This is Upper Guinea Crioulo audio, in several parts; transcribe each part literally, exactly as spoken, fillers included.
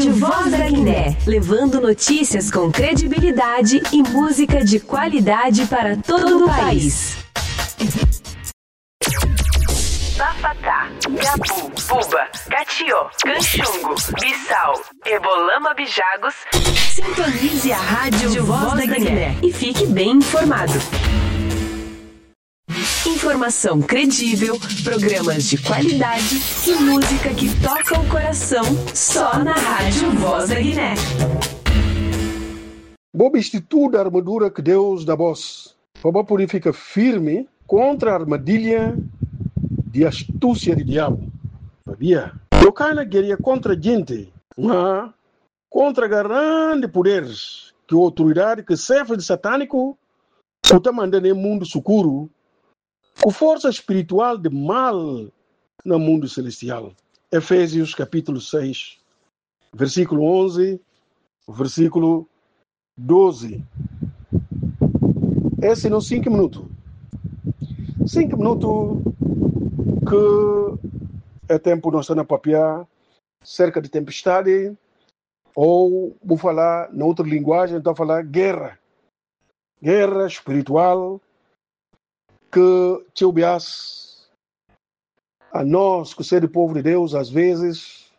Voz da Guiné, levando notícias com credibilidade e música de qualidade para todo o país. Bafata, Gabu, Buba, Katio, Kanxungu, Bisau, Ebolama, Bijagos. Sintonize a Rádio Voz da Guiné e fique bem informado. Informação credível, programas de qualidade e música que toca o coração, só na Rádio Voz da Guiné. Bo bisti tudu armadura ki Deus da bos, pa bo pudi fika firmi kontra armadilha di astusia di diabu. Pabia no kana geria kontra jinti, ma kontra garandi puderis, ki otoridadi, ki xefis di sataniku ku ta manda ne mundu sukuru, ku forsa spiritual di mal na mundu selestial. Efesius kapitulu seis, versikulu onze, versikulu doze. Esi no sinku minutu. Sinku minutu ki e tempu no sta na papia serka di tempestadi, ou bu fala na utru linguajen, ta fala gera. Gera spiritual, ki txeu bias anos ku sedi povu di Deus, as vezes,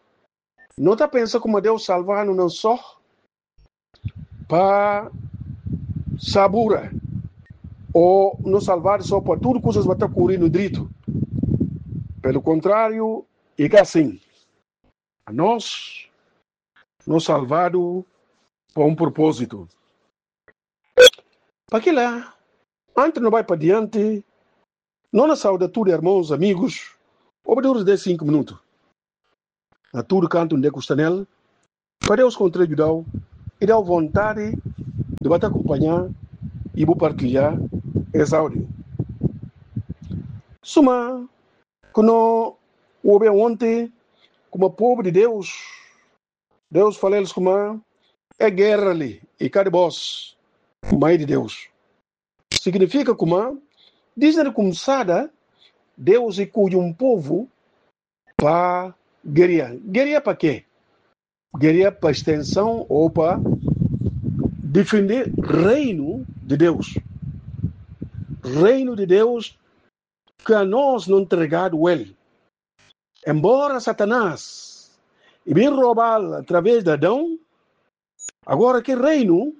no ta pensa kuma Deus salva-nu nan so pa sabura, ou no salvadu so pa tudu kusas ba ta kuri no dritu. Pelu kontrariu, i ka asin. Anos no salvadu pa un propózitu. Pa kila, anti no bai pa dianti, no na sauda tudu ermons, amigus, obiduris de sinku minutu, na tudu kantu nde ku sta nel, pa Deus kontra judau i dau vontadi di ba ta akompaña i bu partilha es audio. Suma ku no obi onti, kuma povu di Deus, Deus fala eles kuma e gera li i ka di bos, ma i di Deus. Signifika kuma, disde na kumsada, Deus i kuji un povu pa geria. Geria pa ke? Geria pa stensaun ou pa difende reinu di Deus. Reinu di Deus ki anos no ntregadu el. Embora Satanas i bin robal atraves di Adão, agora ki reinu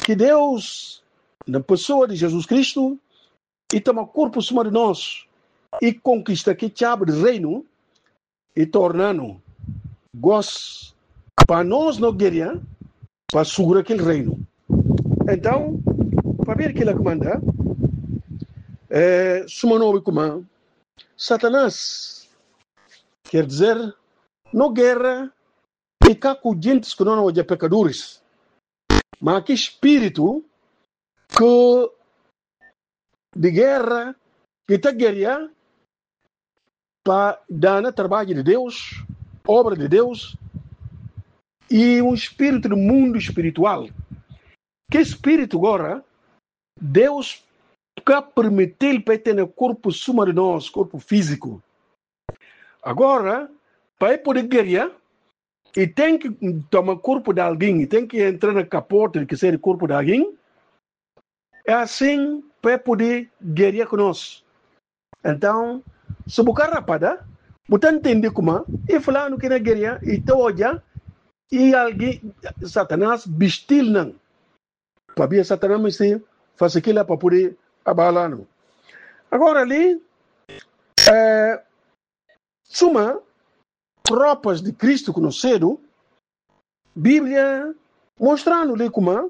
ki Deus, na pesoa di Jesus Kristu, i toma korpu suma di nos, i konkista ki txabi di reinu, i torna-nu gos pa nos no geria pa sugura kel reinu. Entaun, pabia di kila ki manda, eh, suma no obi kuma Satanas, ker dizer, no gera i ka ku jintis ku no na oja pekaduris, ma ki spiritu ki di gera, ki ta geria pa dana tarbaju di Deus, obra di Deus, i un spiritu di mundu spiritual. Ki spiritu gora, Deus ka pirmitil pa e tene korpu suma di nos, korpu fiziku. Agora, pa e pudi geria, i tenki toma korpu di algin, i tenki entra na kaporti ki sedi korpu di algin, e asin pa e pudi geria ku nos. Entaun, si bu ka rapada, bu ta ntende kuma i fulanu ki na geria, i ta oja, i algin, Satanas bistil nan. Pabia Satanas misti fasi kila pa pudi abala-nu. Agora li, eh, suma tropas di Kristu ku no sedu, Biblia mostra-nu li kuma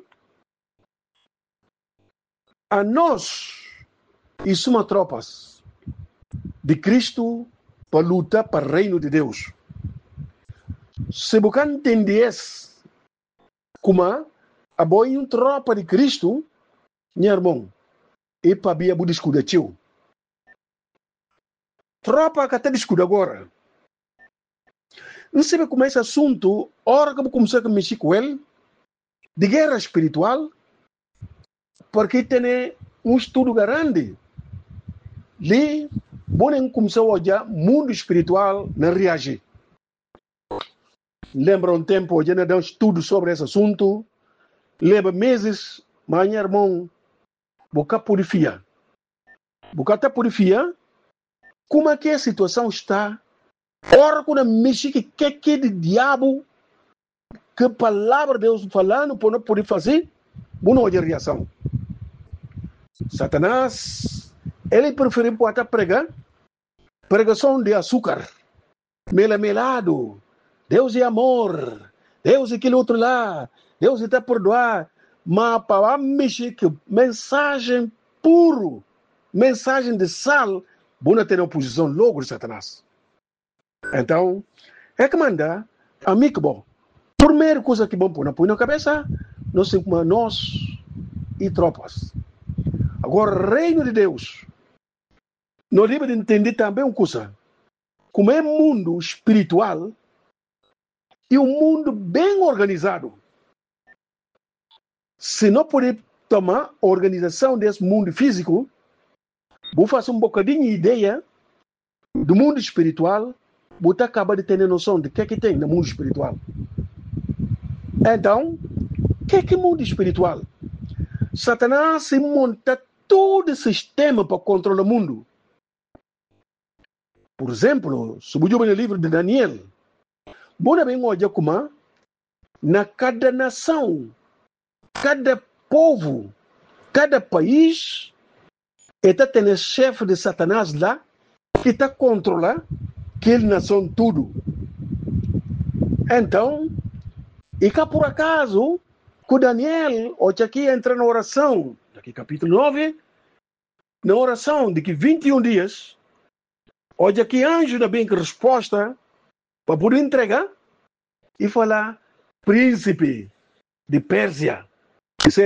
anos i suma tropas di Kristu pa luta pa reinu di Deus. Si bu ka ntende es, kuma abo i un tropa di Kristu, nha irmon, i pabia bu diskuda txeu. Tropa ka ta diskuda agora. N sabe kuma es asuntu, ora ki bu kumsa ka mishi ku el, di gera spiritual, porki tene un studu garandi. Li, bo nen kumsa oja mundu spiritual na reaji. Lembra un tempu oja na dan studu sobri es asuntu, leba mezis, ma nha irmon, bu ka pudi fia. Bu ka ta pudi fia kuma ke situasaun sta. Ora ku na mishi ki keke di diabu, ke palabra Deus falanu pa no pudi fasi, bu na oja riasaun. Satanas, el preferi pa ta prega pregasaun di asukar, mela-meladu. Deus i amor, Deus i kil utru la, Deus i ta perdua. Ma pa ba mishi ki mensajen puru, mensajen di sal, bu na tene opozisaun logu di Satanas. Entaun, e ke manda ami ku bo, purmeru kusa ki bo pui na pui na kabesa, no sin kuma nos i tropas. Agora, Reinu di Deus, no dibi di ntende tambi un kusa, kuma e mundu spiritual i un mundu ben organizadu. Si no pudi toma organizasaun des mundu fiziku, bu fasi un bokadinhu ideia di mundu spiritual, bu ta kaba di tene nosaun di ke ki ten na mundu spiritual. Entaun, ke ki mundu spiritual? Satanas i monta tudu sistema pa kontrola mundu. Pur ezemplu, si bu juba na livru di Daniel, bu na ben oja kuma na kada nasaun, kada povu, kada pais, e ta tene xefe di Satanas la ki ta kontrola kel nasaun tudu. Entaun, i ka pur akazu ku Daniel, oja ki entra na orasaun, na ki kapitulu nove, na orasaun di ki vinti un dias, oja ki anju na ben ku resposta pa pudi entrega, i fala, prínsipe di Pérsia.